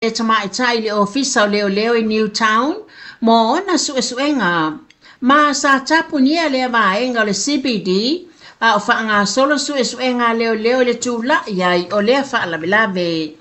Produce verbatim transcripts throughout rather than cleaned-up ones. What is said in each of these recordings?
Le tamaitai i le ofisa o leoleo i Newtown mo ona suesuega ma sa tapunia lea vaega o le C B D a o faagasolo suesuega a leoleo i le tula'i ai o lea faalavelave.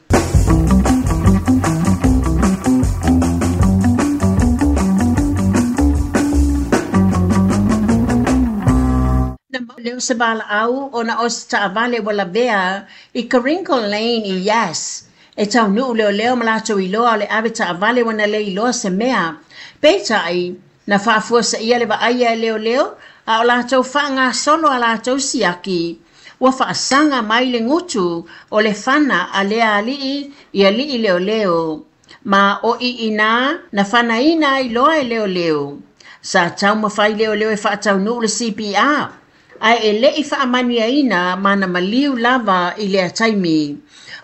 Na mau leo se valaau ona o se taavale ua lavea i Karingal Lane i Yass. E taunuu leoleo ma latou iloa o le ave taavale ua na le iloa se mea. Peitai, na faafuaseia le vaaia e leoleo a o latou faagasolo a latou siaki. Ua faasaga mai le gutu o le fana a lea alii i alii leoleo. Ma o iinā na fanaina ai loa e leoleo. Sa taumafai leoleo e faataunuu le C P R. Ae e le'i faamanuiaina ma na maliu lava i lea taimi.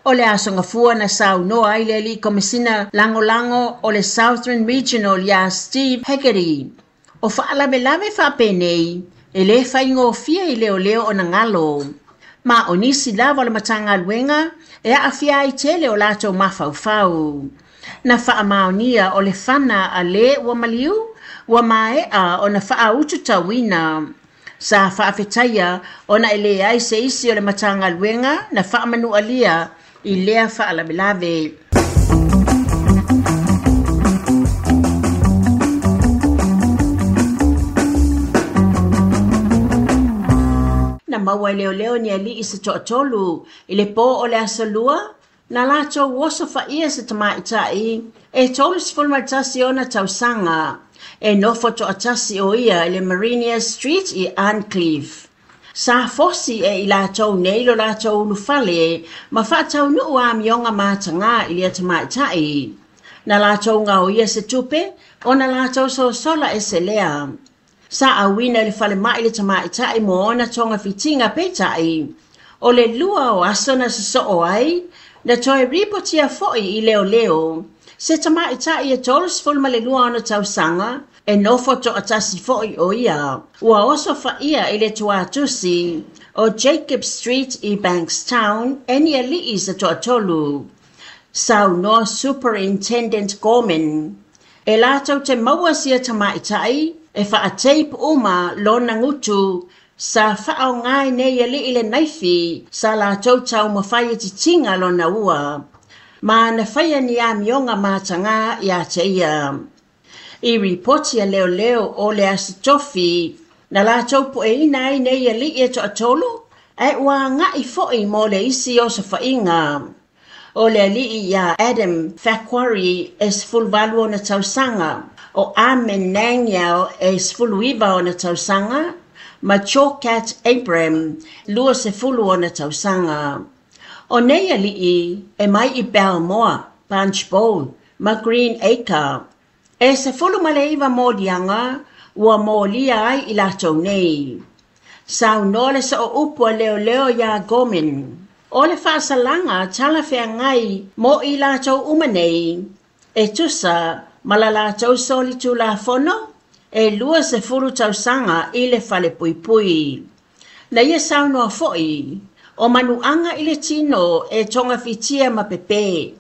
O le aso gafua na saunoa ai le alii komesina lagolago o le Southern Regional iā Steve Hegarty. O faalavelave faapenei e lē faigofie i leoleo ona galo. Ma o nisi lava o le Matagaluega e aafia ai tele o latou mafaufau. Na faamaonia o le fana a lē ua maliu, ua mae'a ona faaututauina. Sa faafetaia ona e leai se isi o le Matagaluega na faamanualia i lea faalavelave. Na maua e leoleo ni alii se toatolu i le pō o le aso lua, na latou oso faia se tamaitai e tolusefulu ma le tasi ona tausaga. E nofo toatasi o ia i le Marinia Street i Arncliffe. Sa fosi e i latou nei lo latou ulufale ma faataunuu amioga matagā i lea tamaitai. Na latou gaoia se tupe ona latou sosola ese lea. Sa auina i le falemai le tamaitai mo ona togafitiga peitai. O le lua o aso na sosoo ai, na toe ripotia fo'i i leoleo. Se tamaitai e tolusefulu ma le lua ona tausaga, e nofo toatasi fo'i o ia. Ua oso faia i le tuatusi o Jacob Street i Bankstown e ni alii se toatolu. Saunoa Superintendent Gorman. E latou te maua sia tamaitai e faateip uma lona gutu sa faaogai nei alii le naifi sa latou taumafai e titiga lona ua. Ma na faia ni amioga matagā iā te ia. I ripoti a leoleo o le aso tofi, na latou pueina ai nei alii e toatolu, ae ua aga'i fo'i mo le isi osofaiga. O le alii iā Adam Faquarry e sefuluvalu ona tausaga, o Amen Nangyal e sefuluiva ona tausaga, ma Chokat Abram luasefulu ona tausaga. O nei alii e mai i Balmoa, Punchbowl ma Green Acre. E sefulu ma le iva moliaga ua molia ai i latou nei. Saunoa le sooupu a leoleo iā Gorman. O le faasalaga talafeagai mo i latou uma nei. E tusa ma la latou solitulafono e luasefulu tausaga i le falepuipui. Na ia saunoa fo'i, o manuaga i le tino e togafitia ma pepe.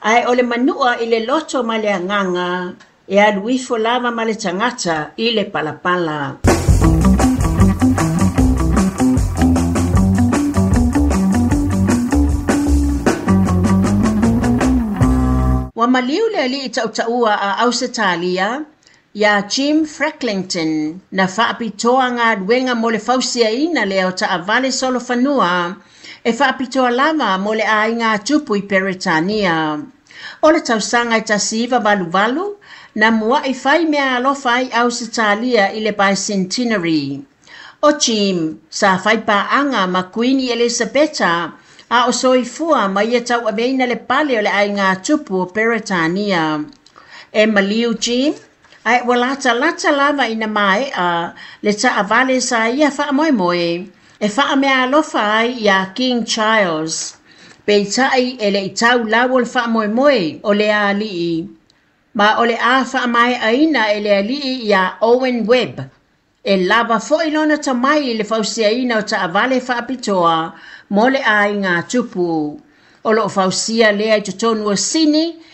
Ae o le manua i le loto ma le agaga e alu ifo lava ma le tagata i le palapala. Ua maliu le alii tautaua a Ausetalia iā Jim Frecklington na faapitoa galuega mo le fausiaina lea o taavale solofanua e faapitoa lava mo le aiga tupu i Peretania. O le tausaga e tasi iva valuvalu na mua'i fai mea alofa ai Ausetalia i le Bicentenary. O Jim sa fai paaga ma Kuini Elisabeta a o soifua ma ia tauaveina le pale o le aiga tupu o Peretania. E maliu Jim, ae ua latalata lava ina mae'a le taavale sa ia faamoemoe e faamea alofa ai iā King Charles. Peitai e le'i tau lau o le faamoemoe o le alii, ma o le a faamae'aina e le alii iā Owen Webb. E lava fo'i lona tamai i le fausiaina o taavale faapitoa mo le aiga tupu. O lo o fausia lea i totonu o Sini.